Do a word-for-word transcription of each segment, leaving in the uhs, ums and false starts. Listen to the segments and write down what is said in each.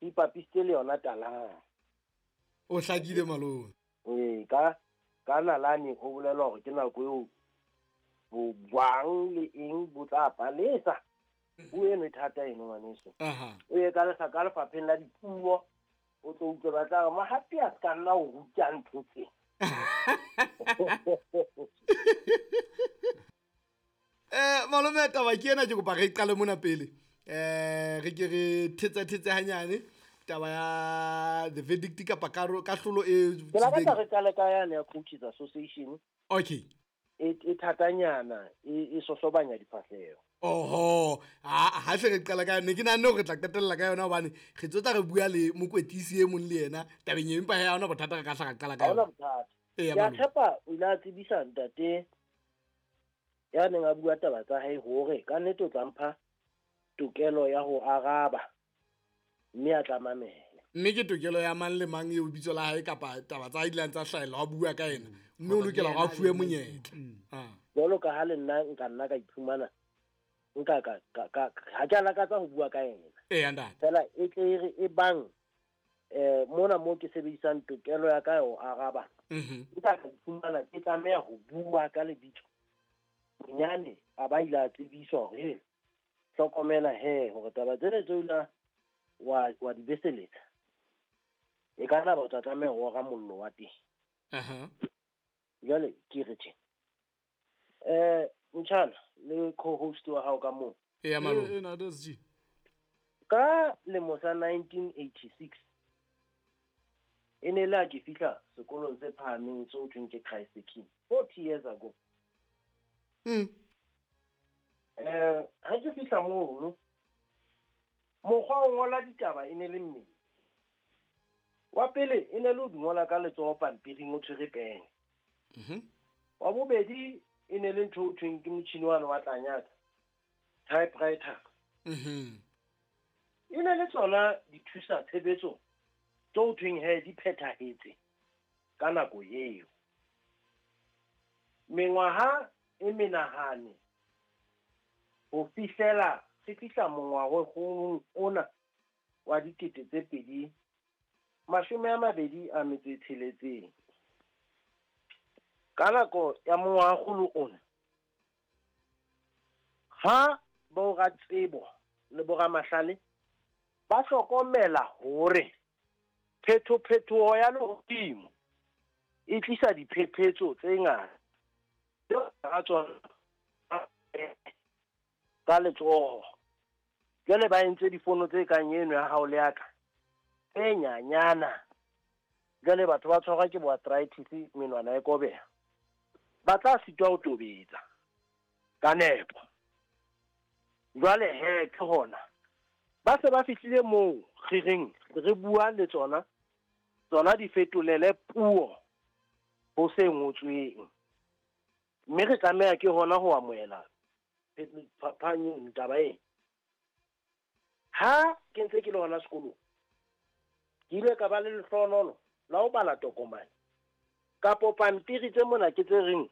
ipapisitse le yona talana. O hlakile malome. Ee, ka ka nalane ho bolelwa hore ke nako eo bojwang le eng bo tla palesa. Puo eno e thata eno ngwaneso. Aha. O ye ka lefa ka lefapheng la dipuo, o tlo utlwe ba tla re Mohapi a ska nna o ruta ntho tse. Eh malome taba ke ena ke kopa re qale mona pele. Eh re ke re thetsa thetsa hanyane taba ya the verdict kapa karo kahlolo e Ke lakatsa re qale ka yane ya Coaches Association. Okay. E e thatanyana e e sosobanya difahleho. Oho, ha ha hle re qala ka ne ke nahane hore re tla qetella ka yona hobane re tsotla re bua le mokwetlisi e mong le yena tabeng e empa ha hona bothata re ka hla ra qala ka Ha hona yona. bothata. Eya, Ke a malome. tshepa o ile a tsebisa ntate ya neng a bua taba tsa hae hore ka nnete o tla mpha tokelo ya ho araba mme a tla mamela. Mme ke tokelo ya mang le mang eo bitso la hae kapa taba tsa hae di ileng tsa hlahella wa bua ka yena mme o lokela hore a fuwe monyetla. Ah. Jwalo ka ha le nna nka nna ka iphumana nka ka ka ka ha ke a lakatsa ho bua ka yena. Eya, ntate. Fela e tle e re e bang eh mona mo ke sebedisang tokelo ya ka ya ho araba. Mhm. Nka ka iphumana ke tlameha ho bua ka lebitso. Bonyane a ba ile a tsebiswa hore he, hlokomela he hore taba tsena tseo la wa wa di beseletsa. E ka nna ba o tla tlameha ho ora mollo wa teng. Aha. Jwale ke re tje. Eh Mtshana le co-host wa hao ka moo. Eya, malome. Eh, eh, na, that's G. Ka lemo sa nineteen eighty-six e ne le ha ke fihla sekolong se phahameng seo thweng ke Christ the King forty years ago. Mm. Eh, ha ke fihla mono, mokgwa wa ho ngola ditaba e ne le mmedi. Wa pele e ne le ho di ngola ka letsoho pampiring o tshwere pene. Mhm. Wa bobedi e ne le ntho o thweng ke motjhini wane wa tlanyatsa, typewriter. Mhm. E ne le tsona dithusa tshebetso tse ho thweng he di phethahetse ka nako eo. Mengwaha e menahane ho fihlela se fihla mongwaheng ona wa dikete tse pedi mashome a mabedi a metso e tsheletseng. Ka nako ya mongwahakgolo ona, ha boratsebo le boramahlale ba hlokomela hore phethophetoho ya lehodimo e tlisa diphephetso tse ngata tseo ka tsona ka letsoho. Jwale ba entse difono tse kang eno ya hao le ya ka tse nyanyana. Jwale batho ba tshwarwa ke bo arthritis, menwana e kobeha, ba tla sitwa ho tobetsa ka nepo. Jwale he ke hona ba se ba fihlile moo re reng re bua le tsona, tsona di fetolele puo ho se ngotsweng, mme re tlameha ke hona ho amohela phapanyong taba ena. Ha ke ntse ke le hona sekolong, ke ile ka ba le lehlohonolo la ho bala tokomane kapo pampiri tse mona ke tse reng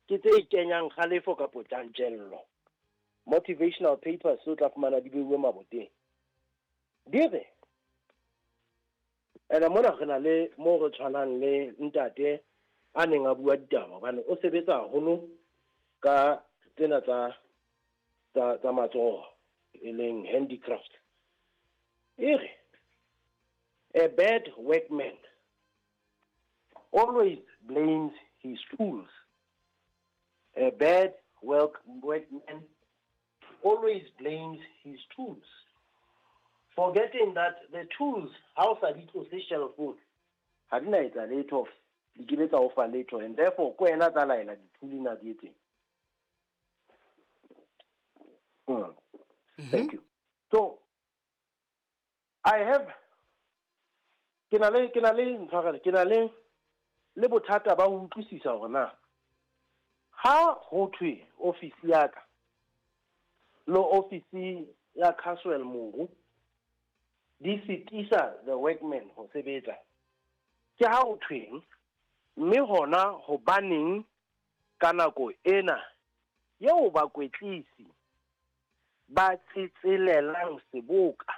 ke tse kenyang kgalefo kapo tjantjello, motivational papers tseo tla fumana di beuwe maboteng. Di re ene mona re na le moo re tshwanang le ntate a neng a bua ditaba hobane o sebetsa haholo ka tsena tsa, tsa, tsa matsoho e leng handicraft. E re a bad workman always blames his tools. A bad work, workman always blames his tools, forgetting that the tools, ha o sa di tlose shelf-ong, ha di na etsa letho, di ke be tsa o fa letho, and therefore ke wena tsa laela di-tool na di etseng. Mm. Mm-hmm. Thank you. So I have ke na le, ke na le ntshwarelo, ke na le, le bothata ba ho utlwisisa hore na ha ho thwe ofisi ya ka le ofisi ya Caswell Moru di sitisa the workmen ho sebetsa, ke ha ho thweng, mme hona hobaneng ka nako ena eo bakwetlisi ba tsetselelang seboka